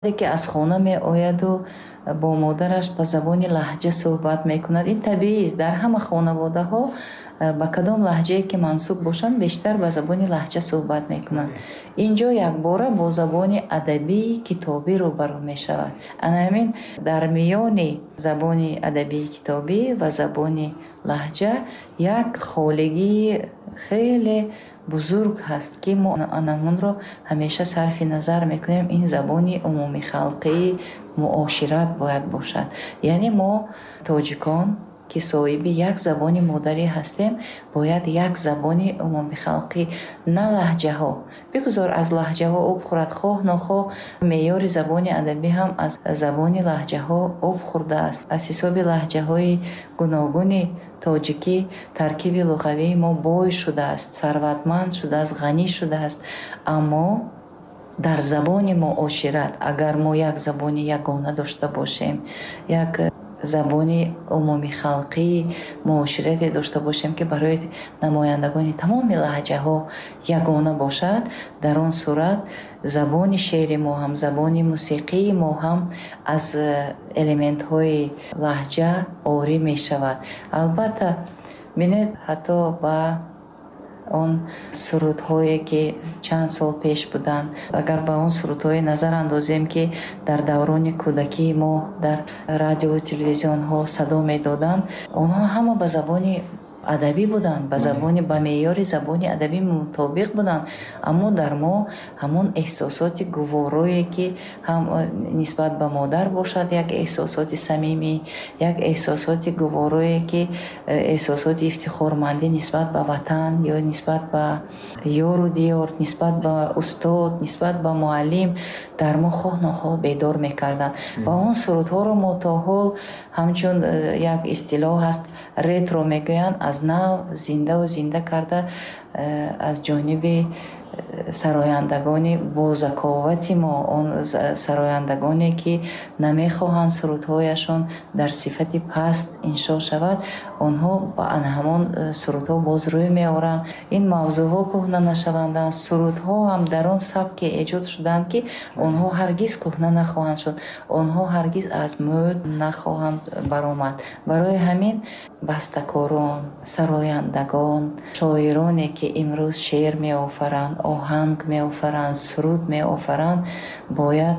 Ки аз хона меояду бо модараш ба забони лаҳҷа суҳбат мекунад, ин табиист. Дар ҳама хонаводаҳо ба кадом лаҳҷае ки мансуб бошанд, бештар ба забони лаҳҷа суҳбат мекунанд. Инҷо якбора бо забони адабии китобӣ рӯбарӯ мешавад. Ана ҳамин дар миёни забони адабии китобӣ ва забони лаҳҷа як холигии хеле бузург ҳаст, ки мо анамонро ҳамеша сарфи назар мекунем. Ин забони умумихалқии муошират бояд бошад. Яъне мо тоҷикон, ки соҳиби як забони модарӣ ҳастем, бояд як забони умумихалқӣ, на лаҳҷаҳо. Бигузор аз лаҳҷаҳо об хӯрад, хоҳ нохоҳ меъёри забони адабӣ ҳам аз забони лаҳҷаҳо об хӯрдааст. Аз ҳисоби лаҳҷаҳои гуногуни тоҷикӣ таркиби луғавии мо бой шудааст, сарватманд шудааст, ғанӣ шудааст. Аммо дар забони муошират агар мо як забони ягона дошта бошем, як забони умумихалқии муоширате дошта бошем, ки барои намояндагони тамоми лаҳҷаҳо ягона бошад, дар он сурат забони шеъри мо ҳам, забони мусиқии мо ҳам аз элементҳои лаҳҷа орӣ мешавад. Албатта, бинед, ҳатто ба он сурудҳое ки чанд сол пеш буданд, агар ба он сурудҳое назар андозем, ки дар даврони кӯдакии мо дар радиову телевизионҳо садо медоданд, онҳо ҳама ба забони адабӣ буданд, ба меъёри забони адабӣ мутобиқ буданд. Аммо дар мо ҳамон эҳсосоти гуворое, ки ҳам нисбат ба модар бошад, як эҳсосоти самимӣ, як эҳсосоти гуворое, ки эҳсосоти ифтихормандӣ нисбат ба ватан ё нисбат ба ёру диёр, нисбат ба устод, нисбат ба муаллим дар мо хоҳ нохоҳ бедор мекарданд. Ва он сурудҳоро мо то ҳол ҳамчун як истилоҳ ҳаст, ретро мегӯянд, аз нав зиндаву зинда карда аз ҷониби сарояндагони бозаковати мо, он сарояндагоне ки намехоҳанд сурудҳояшон дар сифати паст иншо шавад, онҳо ба ҳамон сурудҳо боз рӯй меоранд. Ин мавзӯъҳо кӯҳна нашаванданд, сурудҳо ҳам дар он сабке эҷод шуданд, ки онҳо ҳаргиз кӯҳна нахоҳанд шуд, онҳо ҳаргиз аз мӯд нахоҳанд баромад. Барои ҳамин бастакорон, сарояндагон, шоироне ки имрӯз шеър меофаранд, оҳанг меофаранд, суруд меофаранд, бояд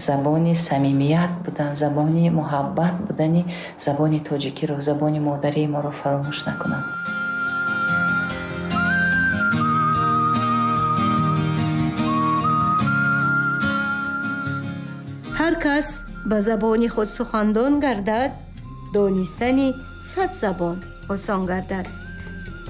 забони самимият будан, забони муҳаббат будани забони тоҷикиро, забони модарии моро фаромӯш накунанд. Ҳар кас ба забони худ сухандон гардад, донистани 100 забон осон гардад.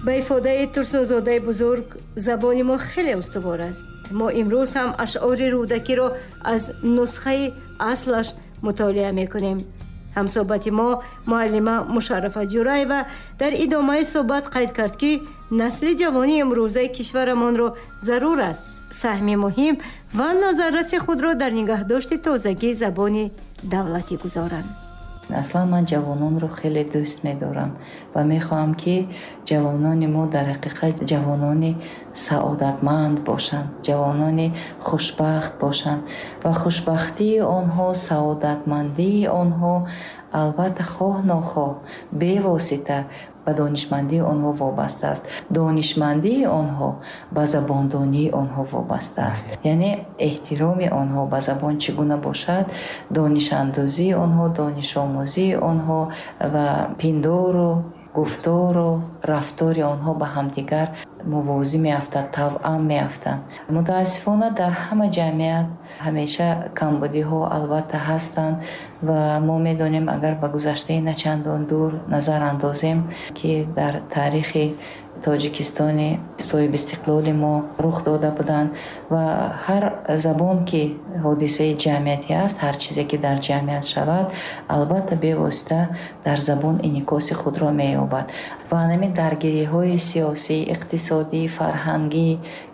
Ба ифодаи Турсунзодаи бузург, забони мо хеле устувор аст. Мо имрӯз ҳам ашъори Рӯдакиро аз нусхаи аслаш мутолиа мекунем. Ҳамсӯҳбати мо муаллима Мушаррафа Ҷураева дар идомаи суҳбат қайд кард, ки насли ҷавони имрӯзаи кишварамонро зарур аст саҳми муҳим ва назарраси худро дар нигаҳдошти тозагии забони давлатӣ гузоранд. Аслан ман ҷавононро хеле дӯст медорам ва мехоҳам, ки ҷавонони мо дар ҳақиқат ҷавонони саодатманд бошанд, ҷавонони хушбахт бошанд ва хушбахтии онҳо, саодатмандии онҳо албатта хоҳ нохоҳ бевосита ба донишмандии онҳо вобаста аст. Донишмандии онҳо ба забондонии онҳо вобаста аст. Яъне эҳтироми онҳо ба забон чӣ гуна бошад, донишандозии онҳо, донишомӯзии онҳо ва пиндору гуфтору рафтори онҳо ба ҳамдигар мувозӣ меафтад, тавъам меафтанд. Мутаассифона дар ҳама ҷамъият ҳамеша камбудиҳо албатта ҳастанд ва мо медонем, агар ба гузаштаи начандон дур назар андозем, ки дар таърихи Тоҷикистони соҳибистиқлоли мо рух дода буданд ва ҳар забон ки ҳодисаи ҷамъиятӣ аст, ҳар чизе ки дар ҷамъият шавад, албатта бевосита дар забон инъикоси худро меёбад. Ва ҳамин даргириҳои сиёсӣ, иқтисодӣ, фарҳангӣ,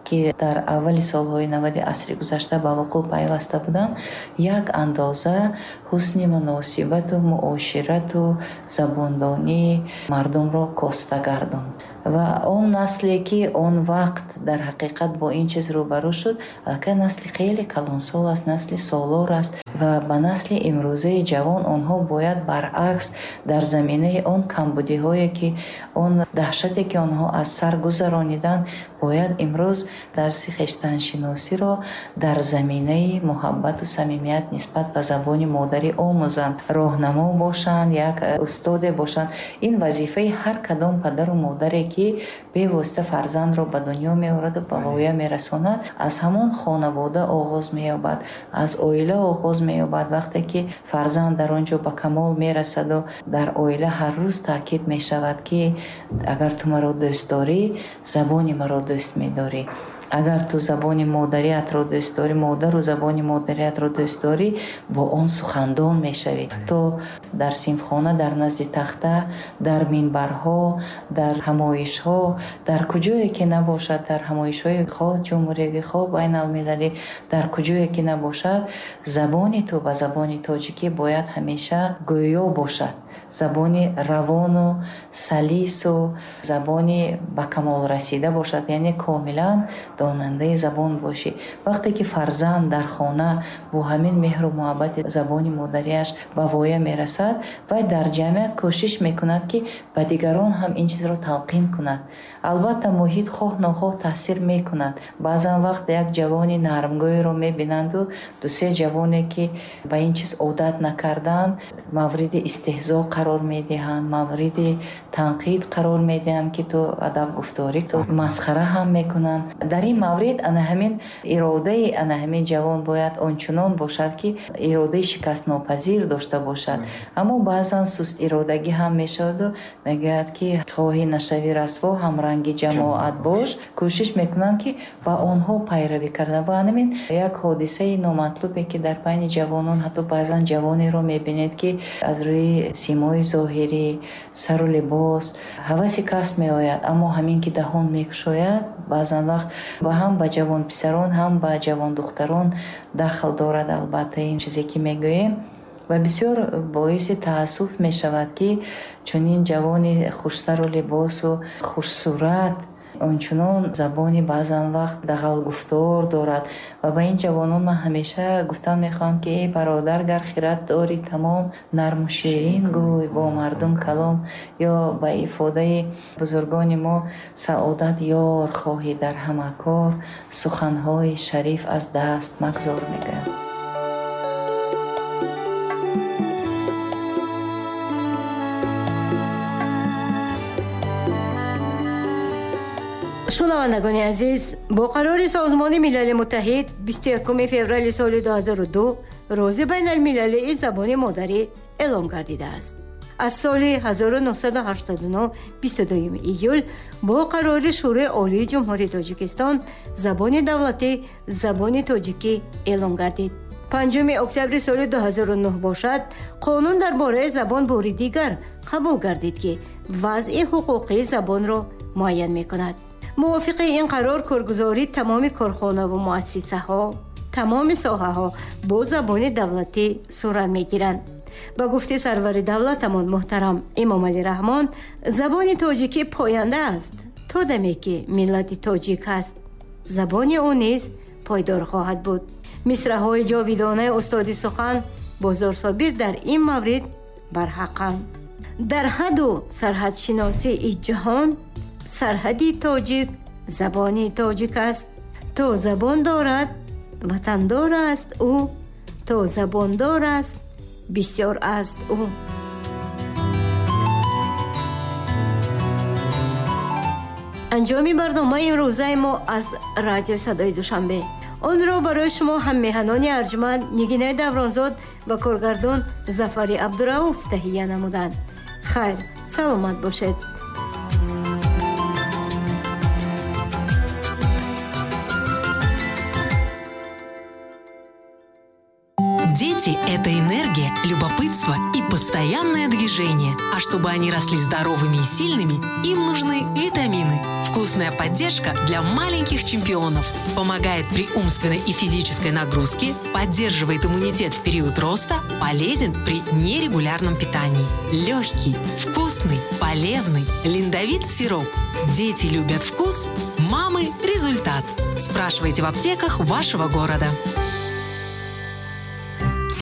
ки дар аввали солҳои 90 асри гузашта ба вуқӯъ пайваста буданд, як андоза ҳусни муносибату муоширату забондонии мардумро коста гардонд. Ва Он насле ки он вақт дар ҳақиқат бо ин чиз рӯбарӯ шуд, аллакай насли хеле калонсол аст, насли солор аст ва ба насли имрӯзаи ҷавон онҳо бояд баръакс дар заминаи он камбудиҳое ки он даҳшате ки онҳо аз сар гузарониданд, бояд имрӯз дарси хештаншиносиро дар заминаи муҳаббату самимият нисбат ба забони модарӣ омӯзанд, роҳнамо бошанд, як устоде бошанд. Ин вазифаи ҳар кадом падару модаре ки бевосита фарзандро ба дунё меораду ба воя мерасонад, аз ҳамон хонавода оғоз меёбад, аз оила оғоз меёбад. Вақте ки фарзанд дар он ҷо ба камол мерасаду дар оила ҳар рӯз таъкид мешавад ки агар ту маро дӯст дорӣ, забони маро дӯст медорӣ. Агар ту забони модариятро дӯст дорӣ, модару забони модариятро дӯст дорӣ, бо он сухандон мешавӣ. То дар синфхона, дар назди тахта, дар минбарҳо, дар ҳамоишҳо, дар куҷое ки набошад, дар ҳамоишҳои хоҳ ҷумҳуриявӣ, хоҳ байналмилалӣ, дар куҷое ки набошад, забони ту ба забони тоҷикӣ бояд ҳамеша гӯё бошад. Забони равону салису забони ба камол расида бошад, яъне комилан донандаи забон бошӣ. Вақте ки фарзанд дар хона бо ҳамин меҳру муҳаббати забони модариаш ба воя мерасад, вай дар ҷамъият кӯшиш мекунад, ки ба дигарон ҳам ин чизро талқин кунад. Албатта муҳит хоҳ нохоҳ таъсир мекунад. Баъзан вақт як ҷавони нармгӯйро мебинанду дусе ҷавоне ки ба ин чиз одат накарданд, мавриди истеҳзо қарор медиҳанд, мавриди танқид қарор медиҳанд, ки ту адабгуфторӣ, ту масхара ҳам мекунанд. Дар ин маврид ана ҳамин иродаи ана ҳамин ҷавон бояд ончунон бошад, ки иродаи шикастнопазир дошта бошад. Аммо баъзан суст иродагӣ ҳам мешаваду мегӯяд, ки хоҳӣ нашавӣ расво, ҳамранги ҷамоат бош. Кӯшиш мекунанд, ки ба онҳо пайравӣ карда. Ва ҳамин як ҳодисаи номатлубе, ки дар байни ҷавонон, ҳатто баъзан ҷавонеро мебинед, ки аз рӯи симои зоҳирӣ, сару либос ҳаваси кас меояд, аммо ҳамин ки даҳон мекушояд, баъзан вақт ва ҳам ба ҷавонписарон, ҳам ба ҷавондухтарон дахл дорад. Албатта ин чизе ки мегӯем ва бисёр боиси таассуф мешавад, ки чунин ҷавони хушсару либосу хушсурат ончунон забони баъзан вақт дағалгуфтор дорад. Ва ба ин ҷавонон ман ҳамеша гуфтан мехоҳам, ки эй бародар, гар хират дорӣ тамом, нарму ширин гӯй бо мардум калом. Ё ба ифодаи бузургони мо, саодат ёр хоҳӣ дар ҳама кор, суханҳои шариф аз даст магзор мегӯянд. Шунавандагони азиз, бо қарори Созмони Милали Муттаҳид 21 феврали соли 2002 рӯзи байналмилалии забони модарӣ эълон гардидааст. Аз соли 1989 22 июл бо қарори Шӯрои Олии Ҷумҳурии Тоҷикистон забони давлатӣ забони тоҷикӣ эълон гардид. 5 октябри соли 2009 бошад, қонун дар бораи забон бори дигар қабул гардид, ки вазъи ҳуқуқии забонро муайян мекунад. Мувофиқи ин қарор коргузории тамоми корхонаву муассисаҳо, тамоми соҳаҳо бо забони давлатӣ сурат мегиранд. Ба гуфти сарвари давлатамон муҳтарам Эмомалӣ Раҳмон, забони тоҷикӣ поянда аст то даме ки миллати тоҷик ҳаст. Забони ӯ низ пойдор хоҳад буд. Мисраҳои ҷовидонаи устоди сухан Бозорсобир дар ин маврид барҳақанд. Дар ҳаду сарҳадшиносии ҷаҳон сарҳади тоҷик забони тоҷик аст. То забон дорад ватандор аст ӯ, то забондор аст бисёр аст ӯ. Анҷоми барномаи имрӯзаи мо аз радиои Садои Душанбе. Онро барои шумо ҳаммеҳанони арҷманд Нигинаи Давронзод ва коргардон Зафари Абдурауф таҳия намуданд. Хайр, саломат бошед. Дети – это энергия, любопытство и постоянное движение. А чтобы они росли здоровыми и сильными, им нужны витамины. Вкусная поддержка для маленьких чемпионов. Помогает при умственной и физической нагрузке, поддерживает иммунитет в период роста, полезен при нерегулярном питании. Легкий, вкусный, полезный Линдовит сироп. Дети любят вкус, мамы – результат. Спрашивайте в аптеках вашего города.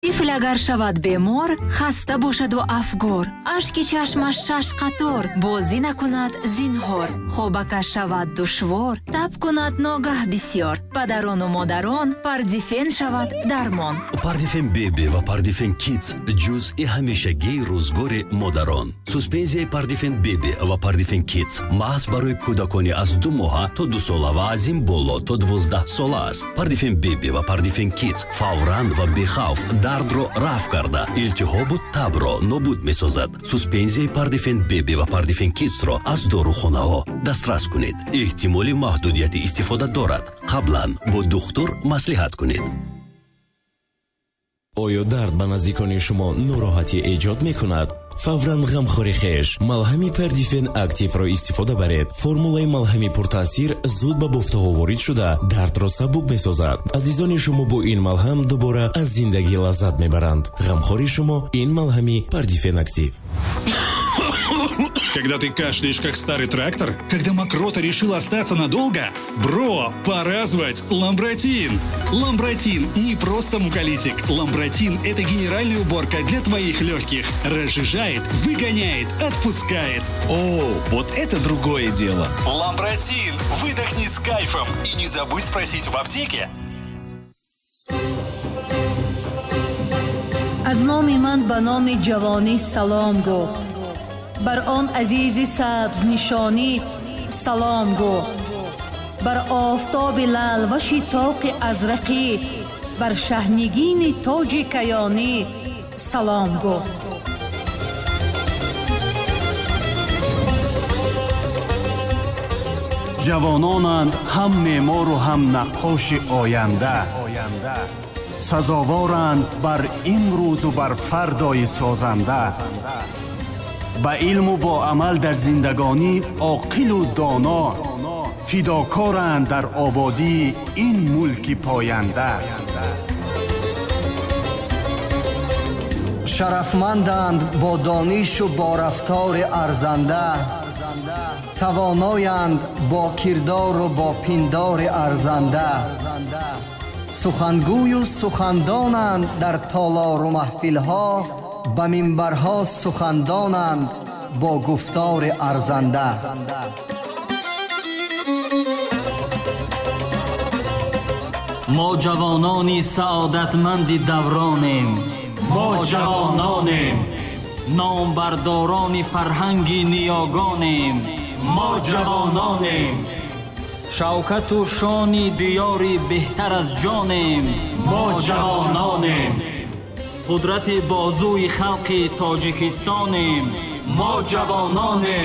Тифл агар шавад бемор, хаста бошаду афгор, ашки чашмаш шаш қатор, бозӣ накунад зинҳор, хобакаш шавад душвор, таб кунад ногаҳ бисьёр, падарону модарон, Пардифен шавад дармон. Пардифен Беби ва Пардифен Кидс ҷузъи ҳамешагии рӯзгори модарон. Суспензияи Пардифен Беби ва Пардифен Кидс маҳз барои кӯдакони аз 2 моҳа то 2 сола ва аз ин боло то 12 сола аст. Пардифен Беби ва Пардифен Кидс фавран ва бехавф дардро рафъ карда, илтиҳобу табро нобуд месозад. Суспензияи Пардифен Беби ва Пардифен Кидсро аз дорухонаҳо дастрас кунед. Эҳтимоли маҳдудияти истифода дорад. Қаблан бо духтур маслиҳат кунед. Оё дард ба наздикони шумо нороҳатӣ эҷод мекунад? Фавран ғамхори хеш малҳами Пердифен Активро истифода баред. Формулаи малҳами пуртаъсир зуд ба бофтаҳо ворид шуда, дардро сабук месозад. Азизони шумо бо ин малҳам дубора аз зиндагӣ лаззат мебаранд. Ғамхори шумо ин малҳами Пардифен Актив. Когда ты кашляешь, как старый трактор? Когда мокрота решила остаться надолго? Бро, пора звать Ламбратин! Ламбратин не просто муколитик. Ламбратин – это генеральная уборка для твоих легких. Разжижает, выгоняет, отпускает. О, вот это другое дело. Ламбратин! Выдохни с кайфом. И не забудь спросить в аптеке. Аз номи ман ба номи ҷавонӣ салом гӯ, бар он азизи сабзнишонӣ салом гӯ, бар офтоби лалваши тоқи азрақӣ, бар шаҳнигини тоҷи каёнӣ салом гӯ. Ҷавононанд ҳам меъмору ҳам наққоши оянда, сазоворанд бар имрӯзу бар фардои созанда. Ба илму бо амал дар зиндагонӣ оқилу доно, фидокоранд дар ободии ин мулки поянда. Шарафманданд бо донишу бо рафтори арзанда, тавоноянд бо кирдору бо пиндори арзанда, сухангӯю сухандонанд дар толору маҳфилҳо, ба минбарҳо сухандонанд бо гуфтори арзанда. Мо ҷавонони саодатманди давронем. Мо ҷавононем, номбардорони фарҳанги ниёгонем. Мо ҷавононем, шавкату шони диёри беҳтар аз ҷонем. Мо ҷавононем, қудрати бозуи халқи Тоҷикистонем. Мо ҷавононем.